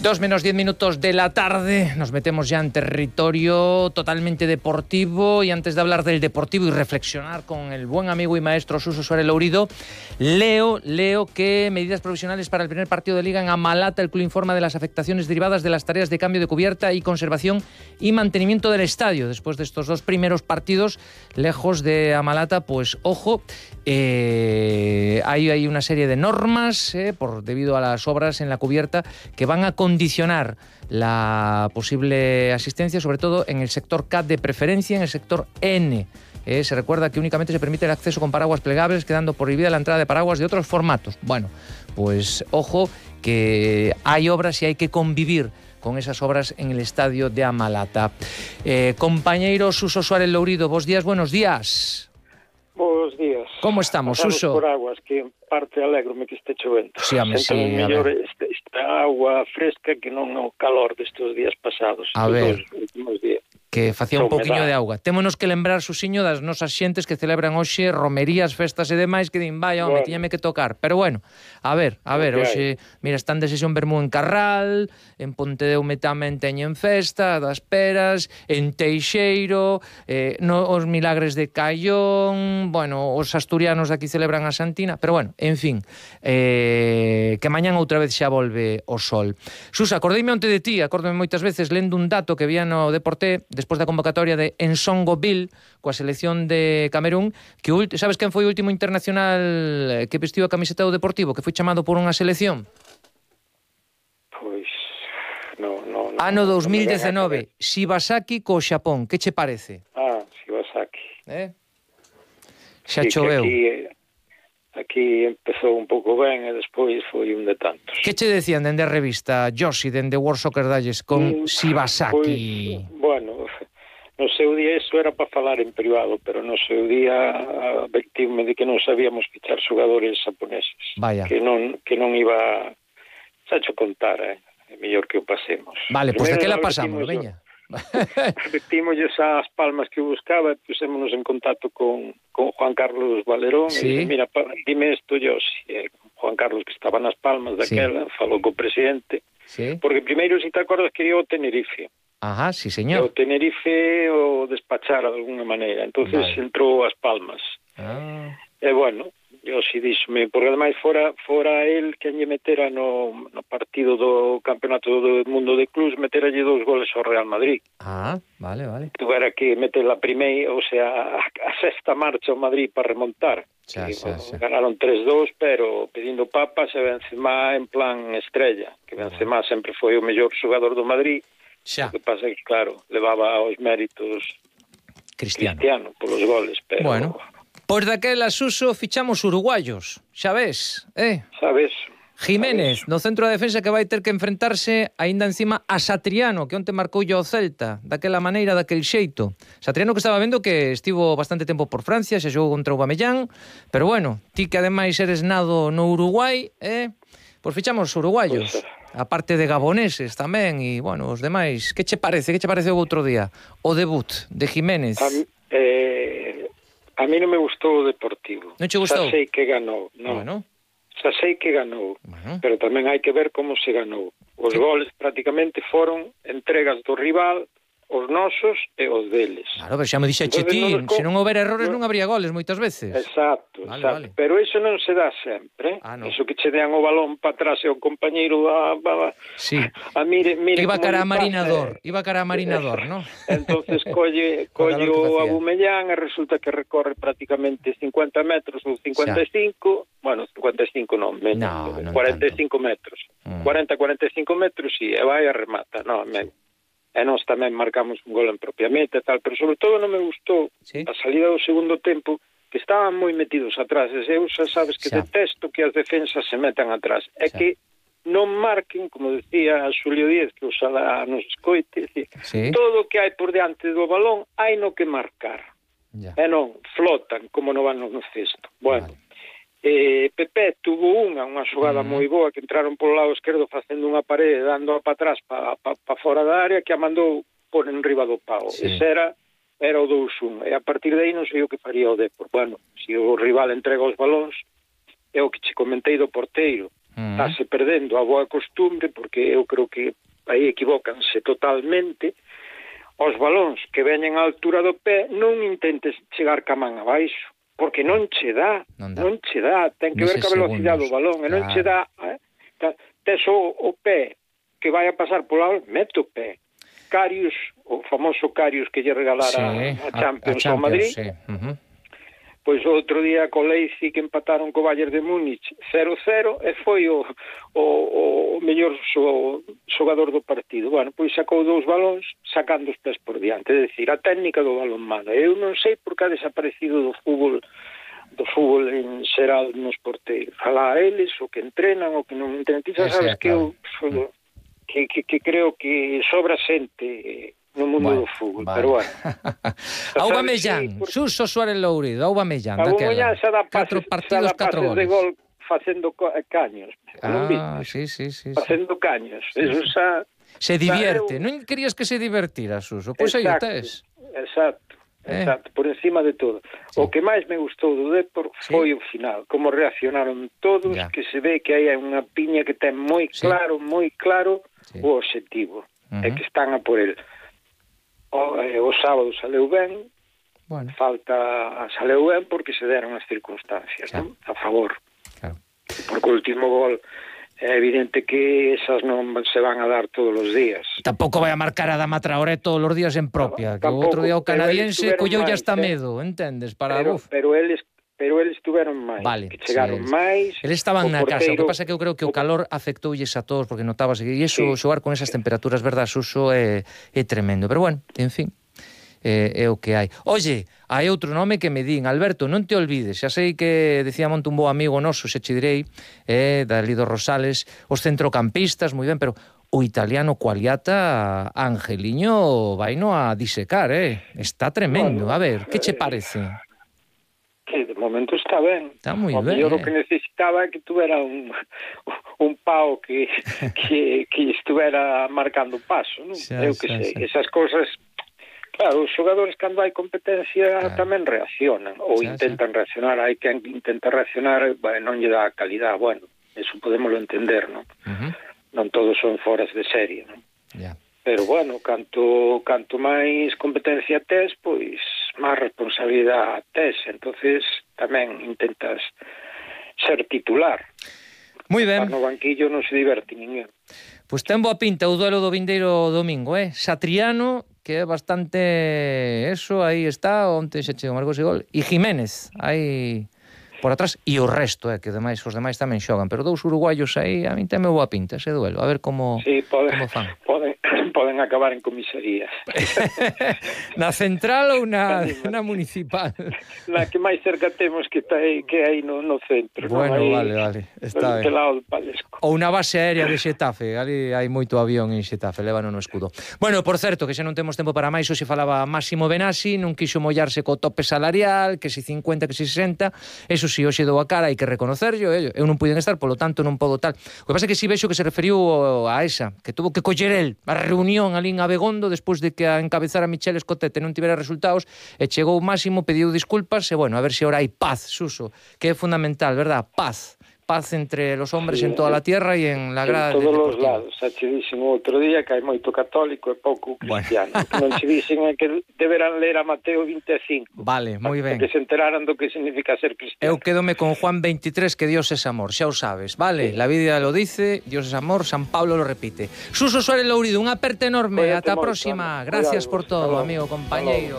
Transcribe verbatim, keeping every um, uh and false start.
Dos menos diez minutos de la tarde, nos metemos ya en territorio totalmente deportivo, y antes de hablar del deportivo y reflexionar con el buen amigo y maestro Suso Suárez Lourido, leo, leo que medidas provisionales para el primer partido de Liga en Amalata. El club informa de las afectaciones derivadas de las tareas de cambio de cubierta y conservación y mantenimiento del estadio. Después de estos dos primeros partidos, lejos de Amalata, pues ojo, eh, hay, hay una serie de normas eh, por debido a las obras en la cubierta que van a condicionar la posible asistencia, sobre todo en el sector K de preferencia, en el sector N. Eh, se recuerda que únicamente se permite el acceso con paraguas plegables, quedando prohibida la entrada de paraguas de otros formatos. Bueno, pues ojo que hay obras y hay que convivir con esas obras en el estadio de Amalata. Eh, compañeiro Suso Suárez Lourido, bos días, buenos días. Bos días. Como estamos, Pasamos Suso? por aguas, que en parte alegro-me que este chovendo. Sí, home, sí, mellor esta, esta agua fresca que non o calor destes días pasados. A ver, últimos días. Que facía un pouquiño de auga. Témonos que lembrar, Susiño, das nosas xentes que celebran hoxe romerías, festas e demais, que din, vai, home, bueno, tiñame que tocar. Pero bueno, a ver, a ver, hoxe, mira, están de sesión Bermú en Carral, en Pontedeume tamén teñen festa, das Peras, en Teixeiro, eh, no, os Milagres de Caión, bueno, os asturianos de aquí celebran a Santina, pero bueno, en fin, eh, que mañán outra vez xa volve o sol. Susa, acordeime onte de ti, acórdome moitas veces lendo un dato que vía no Deporté, despois da convocatoria de Nsongo-Bill coa selección de Camerún, que sabes quen foi o último internacional que vestiu a camiseta do Deportivo, que foi chamado por unha selección? Pois no, no, no, ano dos mil no dezenove, Shibasaki co Xapón. Que che parece? Ah, Shibasaki. Eh? Xa sí, choveu. Aquí, aquí empezou un pouco ben e despois foi un de tantos. Que che decían dende a revista Yoshi, dende World Soccer Dalles con mm, Shibasaki? Pois, bueno, no seu día iso era para falar en privado, pero no seu día advertirme de que non sabíamos fichar xogadores japoneses. Vaya. Que non, que non iba... Xa cho contar, eh? É mellor que o pasemos. Vale, pois pues daquela pasamos, veña. Repetimosles as palmas que buscaba, pusémonos en contacto con, con Juan Carlos Valerón. Sí. E dije, mira, pa, dime isto, yo, si, eh, Juan Carlos, que estaba nas palmas daquela, sí. Falou co presidente, sí. Porque primeiro, se te acordas, quería o Tenerife. Ajá, sí, señor. O Tenerife o despachara de alguna maneira, entonces vale. Entrou as palmas. Ah. E bueno, eu si díxome, porque ademais fora fora el que lle metera no, no partido do Campeonato do Mundo de Clubs, meteralle dous goles ao Real Madrid. Ah, vale, vale. Tuvera que meter la primeira, o sea, a, a sexta marcha ao Madrid para remontar. Xa, que, xa, bueno, xa. Ganaron tres dos, pero pedindo papas e Benzema en plan estrella, que Benzema sempre foi o mellor xogador do Madrid. Xa. O que pasa é que, claro, levaba os méritos Cristiano, Cristiano polos goles, pero... Bueno. Pois daquela, Suso, fichamos uruguayos, xa ves, eh? Sabes? Jiménez, sabes? no centro da defensa, que vai ter que enfrentarse aínda encima a Satriano, que onte marcou o Celta, daquela maneira, daquel xeito. Satriano, que estaba vendo que estivo bastante tempo por Francia, xa xogou contra o Aubameyang, pero bueno, ti que ademais eres nado no Uruguai, eh? Pois fichamos uruguayos, pues, aparte de gaboneses tamén, e, bueno, os demais. Que che parece? Que che parece o outro día? O debut de Jiménez. A, eh... A mí non me gustou o Deportivo. Non che gustou? Xa sei que ganou, non. Bueno. Xa sei que ganou, bueno. Pero tamén hai que ver como se ganou. Os sí. Goles prácticamente foron entregas do rival, os nosos e os deles. Claro, pero xa me dixe ti, non se non houber errores non habría goles moitas veces. Exacto, vale, exacto. Vale. Pero iso non se dá sempre. Ah, no. Iso que che dean o balón para atrás e o compañeiro a, a, sí. a mire, mire iba cara a pasa, Marinador, iba cara a Marinador, ¿no? Entonces colle, colle o Aubameyang e resulta que recorre prácticamente cincuenta metros ou cincuenta e cinco, xa. Bueno, cincuenta e cinco non, menos, no, non cuarenta e cinco tanto. Metros. Mm. cuarenta a cuarenta e cinco metros e vai a remata, no, me e nós tamén marcamos un gol en propiamente e tal, pero sobre todo non me gustou sí. A salida do segundo tempo, que estaban moi metidos atrás, e eu xa sabes que xa. Detesto que as defensas se metan atrás, é que non marquen, como decía Xulio Díez, que oxalá nos escoite, decir, sí. Todo o que hai por diante do balón hai no que marcar, ya. E non flotan como non van no cesto. Bueno, vale. Eh, Pepe tuvo unha unha xogada uh-huh. moi boa, que entraron polo lado esquerdo facendo unha parede, dando para atrás para pa, pa fora da área, que a mandou por enriba do pau. Sí. Ese era era o dous un, e a partir de aí non sei o que faría o Depor. Bueno, se o rival entrega os balóns, é o que che comentei do porteiro. Uh-huh. Estase perdendo a boa costumbre, porque eu creo que aí equivócanse totalmente. Os balóns que veñen á altura do pé non intentes chegar ca man abaixo, porque non che dá, non, non che dá, ten que ver ca velocidade do balón, e non che dá, eh? Tes o, o pé que vai a pasar pola, mete o pé. Karius, o famoso Karius que lle regalara sí, a Champions ao Madrid, sí. uh-huh. Pois o outro día co Leipzig que empataron co Bayern de Múnich cero cero e foi o, o, o mellor xo, xogador do partido. Bueno, pois sacou dous balóns sacando os pés por diante, é dicir, a técnica do balón manda. Eu non sei por que ha desaparecido do fútbol do fútbol en xeral nos porteiros. Alá a eles, o que entrenan, o que non entrenan. Ti xa sabes que eu sou, que, que, que creo que sobra xente no mundo bueno, do fútbol, vale. Pero bueno. Aubameyang, por... Suso Suárez Lourido, Aubameyang, Aubameyang xa dá pases, catro partidos, catro goles. De gol facendo caños. Ah, sí, sí, sí. Facendo sí. caños. Sí, Eso xa... Se divierte. Eu... Non querías que se divertira, Suso? Pois aí o tes. Exacto. Eh. Exacto, por encima de todo. Sí. O que máis me gustou do Depor sí. foi o final, como reaccionaron todos, ya. Que se ve que hai unha piña que ten moi claro, sí. moi claro sí. o obxectivo, uh-huh. e que están a por el. O, eh, o sábado saleu ben, bueno. falta saleu ben porque se deron as circunstancias, claro. ¿no? A favor. Claro. Porque o último gol é evidente que esas non se van a dar todos os días. Tampouco vai a marcar a Adama Traoré todos os días en propia, no, que o outro día o canadiense colleu ya hasta medo, entendes? Para pero, pero eles pero eles tuveron máis, vale, que chegaron sí, máis. Eles estaban na porteiro, casa, o que pasa é que eu creo que o calor afectoulles a todos, porque notábase que iso, sí. xogar con esas temperaturas, verdad, Suso, é, é tremendo. Pero bueno, en fin, é, é o que hai. Oye, hai outro nome que me din, Alberto, non te olvides, xa sei que decía monte un bo amigo noso, se che direi, eh, Dalido Rosales, os centrocampistas, moi ben, pero o italiano Quagliata, Angeliño, vaino a disecar, eh? Está tremendo. A ver, que che parece? Que de momento está ben. Está moi o ben. O que necesitaba é que tuvera un, un pao que, que, que estuvera marcando paso, non? Xa, Eu que xa, sei, xa. esas cousas. Claro, os xogadores cando hai competencia claro. tamén reaccionan, ou xa, intentan xa. reaccionar. Hai quen intenta reaccionar, bueno, non lle dá calidad. Bueno, eso podémoslo entender, non? Uh-huh. Non todos son foras de serie, non? Yeah. Pero bueno, canto canto máis competencia tes, pois máis responsabilidade tes, entonces tamén intentas ser titular. Moi ben. No banquillo non se diverte ninguén. Pois ten boa pinta o duelo do vindeiro domingo, eh? Satriano, que é bastante eso, aí está, onte se chegou marcou ese gol, e Jiménez, aí por atrás, e o resto, eh, que demais, os demais tamén xogan, pero dous uruguayos aí, a min teme boa pinta ese duelo, a ver como, sí, pode, como fan. Poden, poden acabar en comisaría. Na central ou na, na municipal? Na que máis cerca temos que está aí, que aí no, no centro. Bueno, no? Aí, vale, vale, está ben. Lado do Palesco. Ou na base aérea de Xetafe, ali hai moito avión en Xetafe, lévano no escudo. Bueno, por certo, que xa non temos tempo para máis, hoxe falaba Máximo Benassi, non quixo mollarse co tope salarial, que si cincuenta, que si sesenta, eso si hoxe dou a cara, hai que reconocerlo, eu, eu non puiden estar, polo tanto non podo tal. O que pasa é que si vexo que se referiu a esa, que tuvo que coller el a reunión ali en Abegondo despois de que a encabezara Michel Escotete non tivera resultados, e chegou Máximo, pediu disculpas, e bueno, a ver se ahora hai paz, Suso, que é fundamental, verdad? Paz. Paz entre los hombres sí, en toda la tierra y en la grada en todos del los lados. Xa che dixen outro día que hai moito católico e pouco cristiano. Bueno. Non che dixen é que deberán ler a Mateo vinte e cinco. Vale, moi ben. Que se enteraran do que significa ser cristiano. Eu quedome con Juan veintitrés, que Dios es amor, xa o sabes, vale? Sí. La Biblia lo dice, Dios es amor, San Pablo lo repite. Suso Suárez Lourido, unha aperta enorme, ata a próxima. Gracias por todo, amigo, compañeiro.